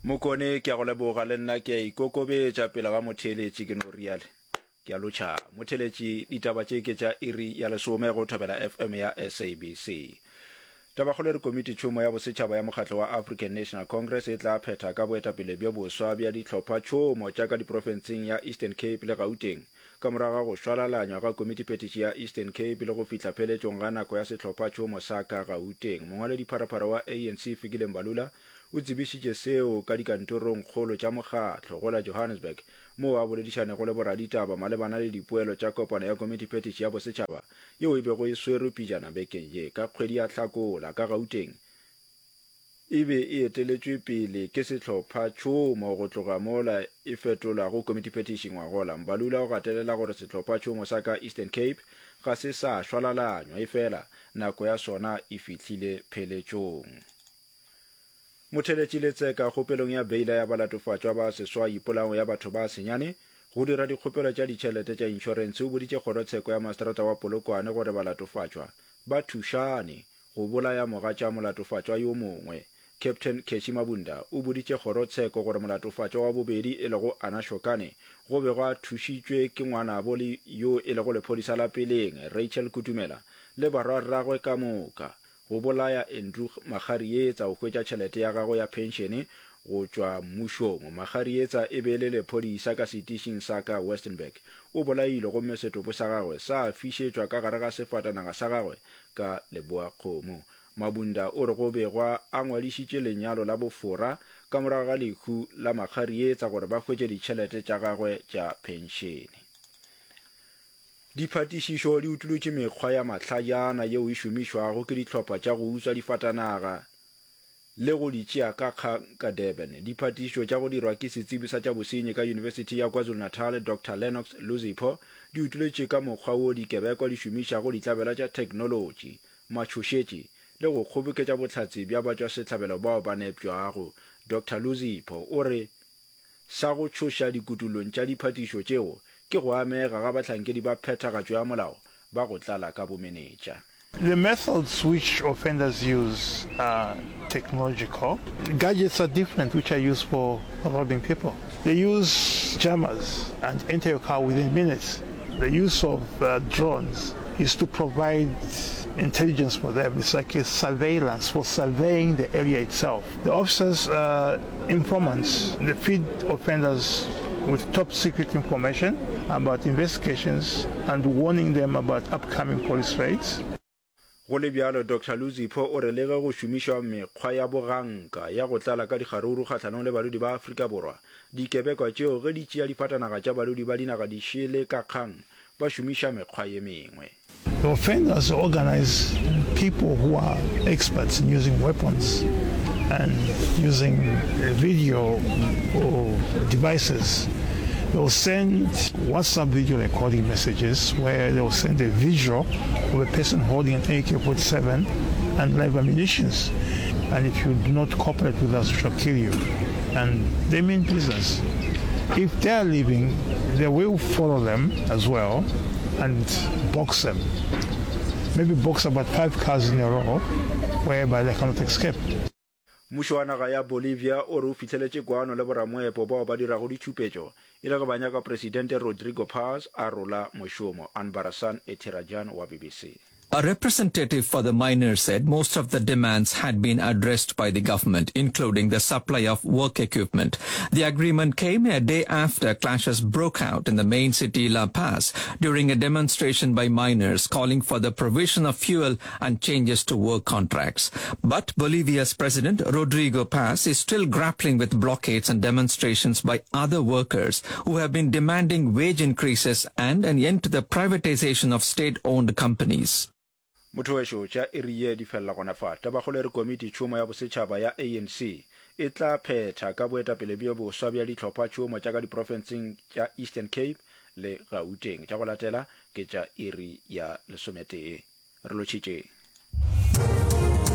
Mokone, Ke a go leboga, le nna ke a ikokobetša pele ga motheeletši, ke no riale. Ke a lotšha. Motheeletši, ditaba tše ke tša iri ya lesome go Thobela FM ya SABC. Tabakgolo e re Komititšhomo ya Bosetšhaba ya Mokgatlo wa African National Congress e tla phetha ka boetapele bjo boswa bja dihlophatšhomo tša ka diprofenseng ya Eastern Cape le Gauteng ka morago ga go šwalalanywa ga Komitiphethiši ya Eastern Cape le go fihla pheletšong ga nako ya sehlophatšhomo sa ka Gauteng. Mongwaledipharapara wa ANC Fikile Mbalula o tsebišitše seo ka dikantorongkgolo tša mokgatlo go la Johannesburg moo a boledišanego le boraditaba malebana le dipoelo tša kopano ya Komitiphethiši ya Bosetšhaba yeo e bego e swerwe pejana bekeng ye ka kgwedi ya Hlakola ka Gauteng, e be e eteletšwe pele ke sehlophatšhomo go tloga mola e fetolwago komitiphethiši ngwagola. Mbalula o gatelela gore sehlophatšhomo sa ka Eastern Cape ga se sa šwalalanywa, efela nako ya sona e fihlile pheletšong. Motheletši Letseka kgopelong ya beila ya balatofatšwa ba seswai polaong ya batho ba senyane go dira dikgopelo tša ditšhelete tša inšorentshe o boditše kgorotsheko ya maseterata wa Polokwane gore balatofatšwa ba thušane go bolaya mogatša molatofatšwa yo mongwe. Captain Keshi Mabunda o boditše kgorotsheko gore molatofatšwa wa bobedi e lego Anna Shokane go bego a thušitšwe ke ngwanabo le yo e lego lephodisa la peleng Rachel Kutumela le barwarragwe ka moka Go bolaya Andrew Makgarietsa go hwetša tšhelete ya gagwe ya phenšene go tšwa mmušong. Makgarietsa e be e le lephodisa ka setišing sa ka Westenburg. O bolailwe gomme setopo sa gagwe sa fišetšwa ka gare ga sefatanaga sa gagwe ka Leboakgomo. Mabunda o re go begwa a ngwadišitše lenyalo la bofora ka morago ga lehu la Makgarietsa gore ba hwetše ditšhelete tša gagwe tša phenšene. Diphatišišo di utolotše mekgwa ya mahlajana yeo e šomišwago ke dihlopha tša go utswa difatanaga le go di tšea ka kgang ka Durban. Diphatišišo tša go dirwa ke setsebi sa tša bosenyi ka Yunibesithi ya KwaZulu-Natal, Doctor Lennox Luzipho, di utolotše ka mokgwa wo dikebekwa di šomišago ditlabela tša theknolotši, matšhošetši le go kgoboketša bohlatse bja batšwasehlabelo bao ba nepšwago. Doctor Luzipho o re Sa go tšhoša dikutulong tša diphatišo tšeo ke go amega ga bahlankedi ba phethagatšo ya molao ba go tlala ka bomenetša. The methods which offenders use are technological. Gadgets are different which are used for robbing people. They use jammers and enter your car within minutes. The use of drones is to provide intelligence for them. It's like a surveillance for surveying the area itself. The officers are informants. They feed offenders with top secret information about investigations and warning them about upcoming police raids. Go le bjalo, Doctor Luzipho o re le ge go šomišwa mekgwa ya boganka ya go tlala ka dikgaruru kgahlanong le badudi ba Afrika Borwa, dikebekwa tšeo ge di tšea difatanaga tša badudi ba dinaga dišele ka kgang, ba šomiša mekgwa ye mengwe. The offenders organize people who are experts in using weapons and using video devices. They will send WhatsApp video recording messages where they will send a visual of a person holding an AK-47 and live ammunitions. And if you do not cooperate with us, we shall kill you. And they mean business. If they are leaving, they will follow them as well and box them. Maybe box about five cars in a row whereby they cannot escape. Mmušo wa naga ya Bolivia o re o fihleletše kwano le boramoepo bao ba dirago ditšhupetšo e le ge ba nyaka Presidente Rodrigo Paz a rola mošomo. Anbarasan Ethirajan wa BBC. A representative for the miners said most of the demands had been addressed by the government, including the supply of work equipment. The agreement came a day after clashes broke out in the main city La Paz during a demonstration by miners calling for the provision of fuel and changes to work contracts. But Bolivia's president Rodrigo Paz is still grappling with blockades and demonstrations by other workers who have been demanding wage increases and an end to the privatization of state-owned companies. Motho wešo, tša iri ye di felela gona fa. Tabakgolo e re Komiti Tšhomo ya Bosetšhaba ya ANC e tla phetha ka boetapele bjo boswa bja dihlophatšhomo tša ka diprofenseng tša Eastern Cape le Gauteng. Tša go latela ke tša iri ya lesometee. Re lotšhitše.